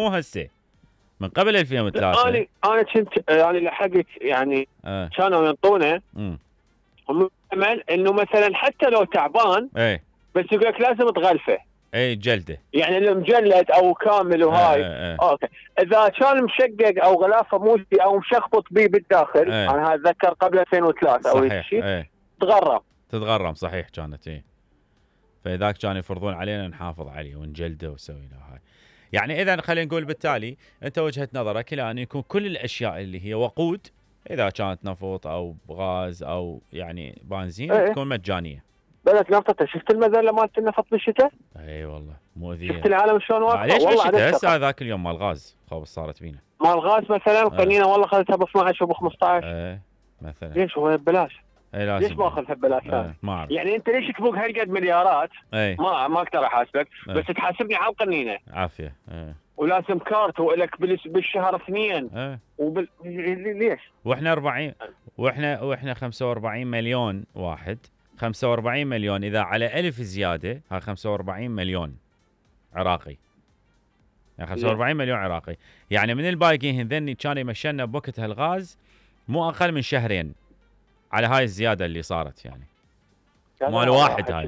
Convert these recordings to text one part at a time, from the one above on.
مو هسه، من قبل 2003. انا كنت يعني لحقت يعني كانوا ينطونه امل انه مثلا حتى لو تعبان بس يقول لك لازم تغلفه جلده، يعني المجلد او كامل وهاي اوكي. اذا كان مشقق او غلافه موسي او مشخبط بيه بالداخل انا اتذكر قبل 2003 او شيء تتغرم صحيح كانت فذاك كانوا يفرضون علينا نحافظ عليه ونجلده ونسوي له هاي. يعني اذا خلينا نقول بالتالي انت وجهه نظرك الى ان يكون كل الاشياء اللي هي وقود اذا كانت نفط او غاز او يعني بنزين تكون مجانيه. بلد نفطه، شفت المذله مالت النفط بالشتاء؟ اي والله مؤذيه. شفت العالم شلون واقفه؟ ليش بالشتاء هسه ذاك اليوم مال غاز خوف صارت بينا. مال غاز مثلا قنينه والله اخذتها ب 12 وب 15 مثلا. ليش هو ببلاش؟ ليش ما اخذها ببلاش؟ يعني انت ليش تبوق هالقد مليارات؟ ما اقدر احاسبك بس تحاسبني على القنينه عافيه. ولازم كارت ولك بالشهر 2 ليش؟ واحنا 40 واحنا 45 مليون واحد، 45 مليون اذا على 1000 زياده ها 45 مليون عراقي، يعني 45 مليون عراقي. يعني من الباقيين ذني كانوا يمشلنا بوقت هالغاز مو اقل من شهرين على هاي الزياده اللي صارت يعني مال واحد هاي.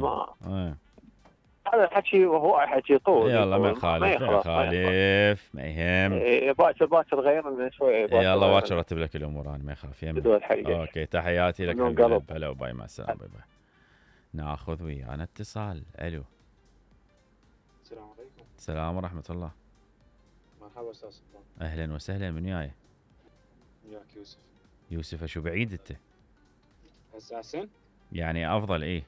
هذا الحكي وهو حكي طول. يلا ما يخالف ما يهم. باكر غيرنا شوي. يلا باكر رتب لك الامور انا ما يخاف يمنا. اوكي تحياتي لك حبيبي. هلا وباي مع السلامه. باي باي. ناخذ ويانا اتصال. الو. السلام عليكم. السلام ورحمه الله. مرحبا استاذ سلطان. اهلا وسهلا. من وياي؟ وياك يوسف. يوسف شو بعيد انت؟ هسه احسن؟ يعني افضل. اي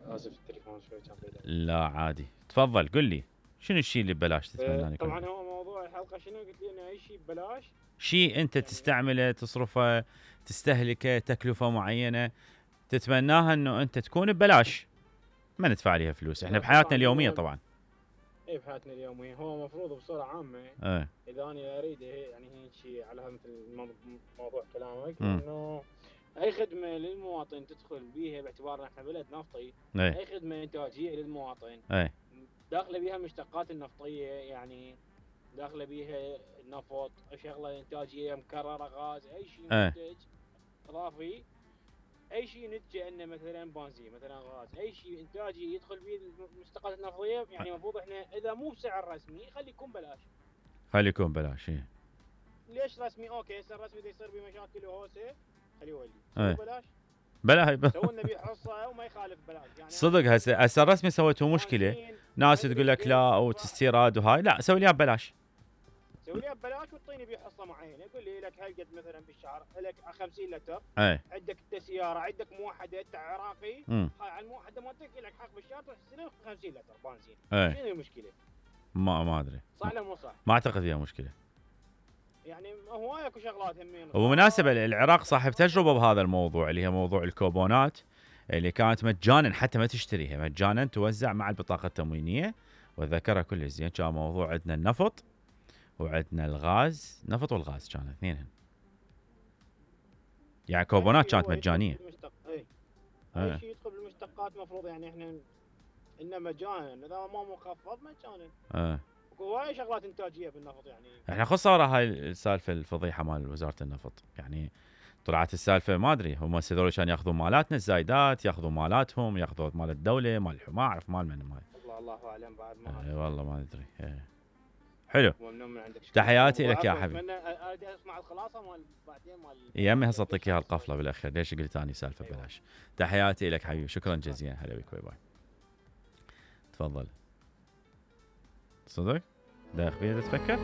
اسف التليفون شوي كان بعيد. لا عادي تفضل قل لي شنو الشيء اللي ببلاش تتمنى؟ طبعا هو موضوع الحلقه شنو قلت لي انه اي شيء ببلاش، شيء انت تستعمله تصرفه تستهلكه تكلفه معينه تتمناها انه انت تكون ببلاش ما ندفع عليها فلوس. احنا بحياتنا اليوميه طبعا بحياتنا اليوميه هو مفروض بصوره عامه اذا انا اريد يعني هيك على مثل موضوع كلامك انه اي خدمه للمواطن تدخل بيها باعتبار احنا بلد نفطي. اي خدمه انتاجيه للمواطن داخله بيها المشتقات النفطيه، يعني داخله بيها النفط، شغله انتاجيه مكرره، غاز، اي شيء منتج اضافي، اي شيء نتجه انه مثلا بنزين مثلا غاز، اي شيء انتاجي يدخل به المشتقات النفطيه يعني المفروض احنا اذا مو بسعر رسمي خلي يكون بلاش. خلي يكون بلاش. ليش رسمي؟ اوكي هسه الرسمي اذا يصير بمشاكل وهوسه خليه يولي بلاش. بلا سووا لنا حصه وما يخالف بلاش يعني صدق. هسه الرسمي سويتوا مشكله، ناس تقول لك لا او تستيراد وهاي، لا سوي لي ببلاش. سوي لي ببلاش وتعطيني بيه حصه معينه، يقول لي لك هالقد مثلا بالشهر لك 50 لتر. عندك انت سياره عندك موحده انت عراقي، هاي على الموحده مالتك لك حق بالشهر تحصل 50 لتر بنزين. شنو المشكله؟ ما ادري صح ولا مو صح؟ ما اعتقد فيها مشكله. يعني هو اكو شغلات همين. وبمناسبه العراق صاحب تجربه بهذا الموضوع اللي هي موضوع الكوبونات اللي كانت مجانا حتى ما تشتريها، مجانا توزع مع البطاقه التموينيه وذكرها كل زين. كان موضوع عندنا النفط وعندنا الغاز، نفط والغاز كانوا اثنينهم يعني كوبونات كانت مجانيه. اي شيء يدخل بالمشتقات مفروض يعني احنا انه مجانا، اذا ما مخفض مجانا. وهاي شغلات انتاجيه بالنفط يعني. احنا خذ صار هاي السالفه الفضيحه مال وزاره النفط، يعني طلعت السالفه ما ادري هم هذول كانوا ياخذون مالاتنا الزايدات، ياخذون مالاتهم، ياخذون مال الدوله، مال ما اعرف مال من مال. الله اعلم بعد ما والله ما ادري. حلو. تحياتي لك يا حبيبي. اريد اسمع الخلاصه مال بعدين مال يمي هسه اعطيك اياها القفله بالاخير. ليش قلت اني سالفه ببلاش؟ تحياتي لك حبيبي، شكرا جزيلا. هلا بك. باي باي. تفضل. صدق؟ دايخ بيها تفكر؟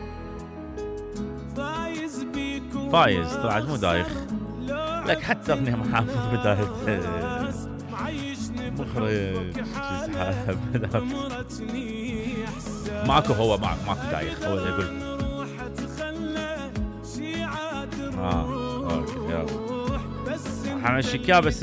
فايز طلعت مو دايخ لك حتى اغنية محافظ بداية مخرج ماكو. هو ماكو دايخ، هو اللي يقول اوكي يلا حمشيك بس